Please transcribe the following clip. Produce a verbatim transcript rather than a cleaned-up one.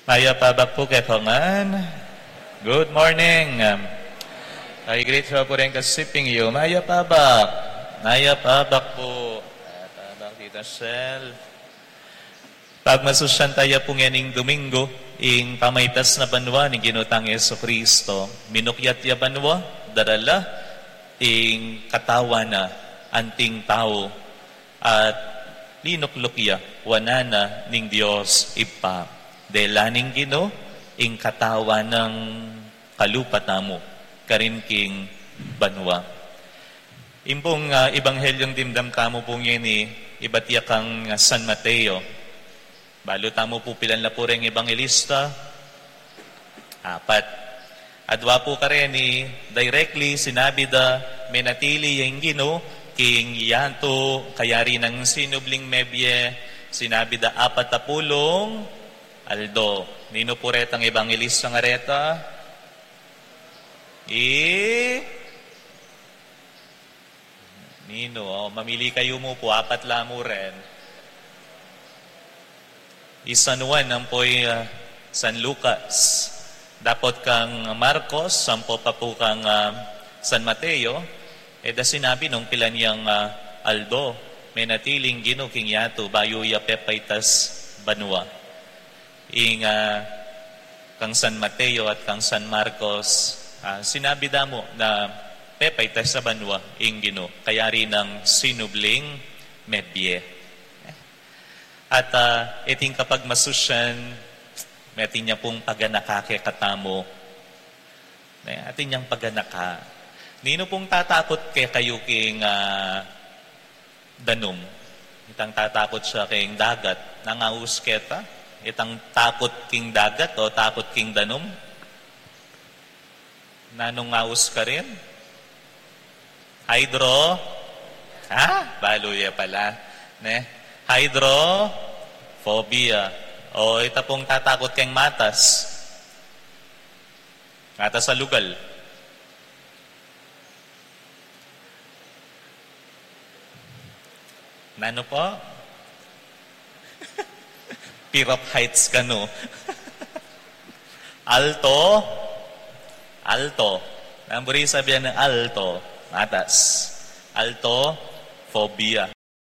Mayap a abak pu kekongan. Good morning. I greet you pu rin kasiping yu. Mayap a abak. Mayap a abak pu. Mayap a abak, Tita Shell. Pagmasusyan taya pu ngening Domingo, ing pamaitas na banua ning Ginu tang Jesucristo. Minukyat ya banua, darala ing katawan na anting tau, at linukluk ya wanan na ning Dios Ibpa. Dela ning Ginu ing katawan nang kalupa tamu karin king banua. Ing pung, ah, Ebanghelyung dimdam tamu pu ngeni, ibat ya kang, ah, San Mateo. Balu tamu pu pilan la pu reng ebanghelista? Apat. Adua pu kareni, directly sinabi da, menatili ya ing Ginu king yatu, kayari nang sinubling mebie, sinabi da apat a pulung aldo. Ninu pu retang ebanghelista nga reta? I Ninu, o, mamili kayu mu pu, apat la mu ren. I San Juan ampo i, ah, San Lucas. Dapot kang Marcos, ampo pa pu kang, ah, San Mateo, e da sinabi nung pilan yang, ah, aldo, menatili ing Ginu king yatu, bayu ya pepaitas banua. Ing, ah, kang San Mateo at kang San Marcos, ah, sinabi da mu na pepaitas banua ing Ginu, kayari nang sinubling mebie. At, ah, iting kapagmasusyan, atin ya pung paganaka kekatamu. Ne, atin yang paganaka. Ninu pung tatakut kekayu king, ah, danum? Itang tatakut ya king dagat. Nanung aus keta? Itang takut king dagat o takut king danum? Nanung aus karin? Hydro? Ha? Balu ya pala. Ne? Hydrophobia. O ita pung tatakut keng matas. Matas a lugal. Nanu po? Fear of heights kanu. Alto. Alto. Nanu buri sabian nang alto? Matas. Altophobia.